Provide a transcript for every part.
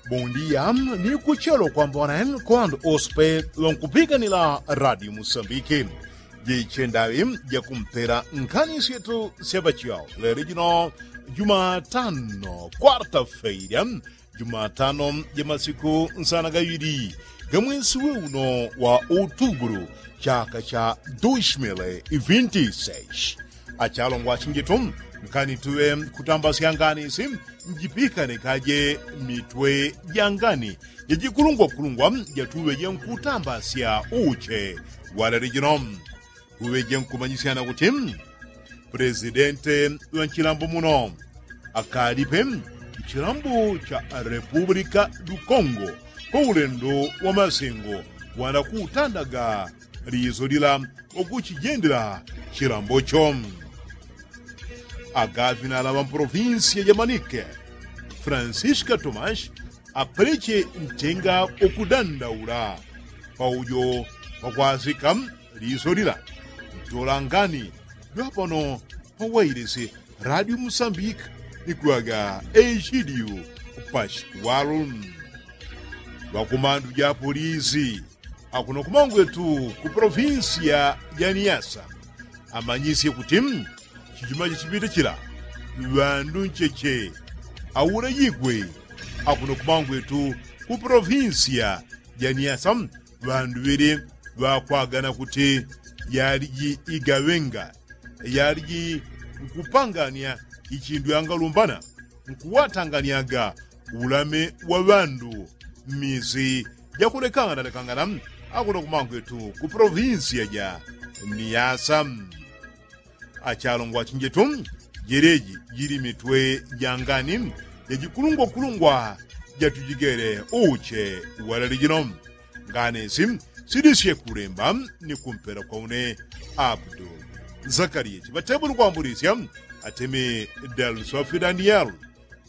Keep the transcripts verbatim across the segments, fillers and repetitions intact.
Bondia ni kuchelo kwambone kwando ospe ŵankupikanila radio musambiki. Jichendaŵi jakumpela nkhani syetu syapachao lelo jino jumatano kwarta feilya, jumatano ja masiku nsana gaŵili ga mwesi we uno wa outubulu, chaka cha dos mil e vinte e seis. Achalongwa achinjetu, nkani tuŵe kutambasya ngani isi njipikane kaje mitwe ja ngani jajikulungwakulungwa jatuŵeje nkutambasya uche walele jino. Tuŵeje nkumanyisyana kuti presidente ŵa nchilambo muno akalipe nchilambo cha repupulika du kongo kwa ulendo wa masengo wanakutandaga liiso lila wakuchijendela chilambocho. Agavinala ŵa mpolovinsiya ja manike francisca tomas apeleche ntenga wakudandaula paujo pakwasika liiso lila ntolangani jwapano pawailisi radio musambika ni kuŵaga echidiu pashiwalu. Ŵakumandu ja polisi akuno kumangwetu ku polovinsiya ja niasa amanyisye kuti chichuma chachipite chila ŵandu ncheche aulejigwe akuno kumangwetu ku polovinsiya ja niasa. Ŵandu ŵele ŵakwagana kuti yaliji igaŵenga yaliji nkupangania ichindu yangalumbana nkuwatanganiaga ulame wa ŵandu mmisi jakulekanganalekangana akuno kumangwetu ku polovinsiya ja niasa. Achalongwa achinjetu, jeleji jili mitwe ja ngani jajikulungwakulungwa jatujigele uche walele jino. Ngani isi sidisye kulemba ni kumpela kwa une abdul zakariya chiŵatebuli kwambulisya atemi dalswafi daniyeli.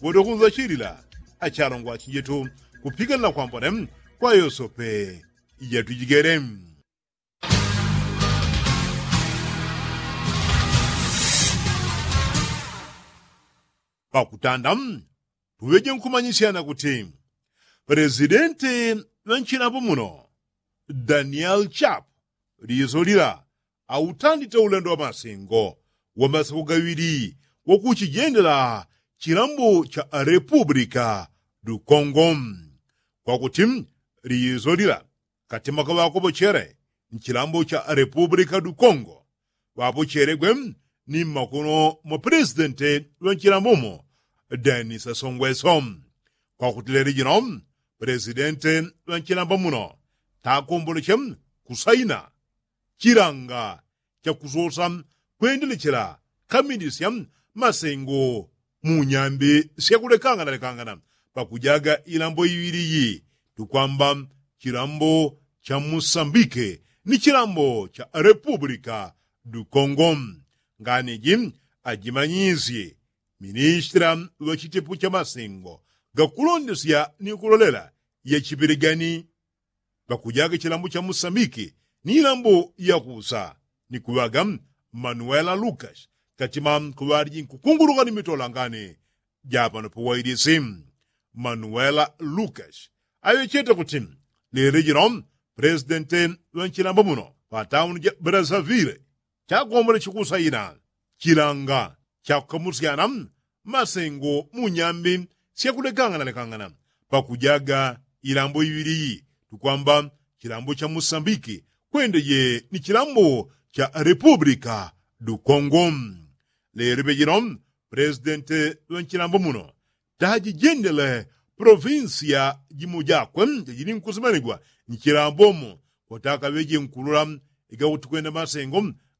Woto kunzachilila achalongwa achinjetu kupikanila kwambone kwa yosope ijatujigele. Pakutanda tuŵeje nkumanyisyana kuti presidente ŵa nchilambo muno daniel chapu liiso lila autandite ulendo wa masengo wa masiku gaŵili wakuchijendela chilambo cha repupulika du kongo. Kwakuti liiso lila katima kaŵakopochele nchilambo cha repupulika du kongo ŵapochelegwe ni mmakono mwa pelesidente ŵa nchilambo mo denisa songweso. Kwakuti lelo jino pelesidente ŵa nchilambo muno takomboleche kusaina chilanga chakusosa kwendelechela kamindisya masengo mu nyambi syakulekanganalekangana pakujaga ilambo iŵili iyi tukwamba chilambo cha musambike ni chilambo cha repupulika du kongo. Ngani iji ajimanyisye ministra ŵa chitepo cha masengo gakulondesya ni kulolela yachipelegani ŵakujaga chilambo cha musambiki ni ilambo yakusa ni kuŵaga manuela lukas katima kuŵaliji nkukunguluka ni mitolangani japano pawailisi. Manuela lukas aŵechete kuti lelo jino pelesidente ŵa nchilambo muno pa tauni ja brasavile chakombole chikusaina chilanga chakukamusyana masengo mu nyambi syakulekanganalekangana pakujaga ilambo iŵili iyi tukwamba chilambo cha musambiki kwendeje ni chilambo cha repupulika du kongo. Lelo pejino pelesidente ŵa nchilambo muno tajijendele polovinsiya jimo jakwe jajili nkusimanigwa nchilambo mo kwatakaŵeje nkulola igakuti kwenda masengo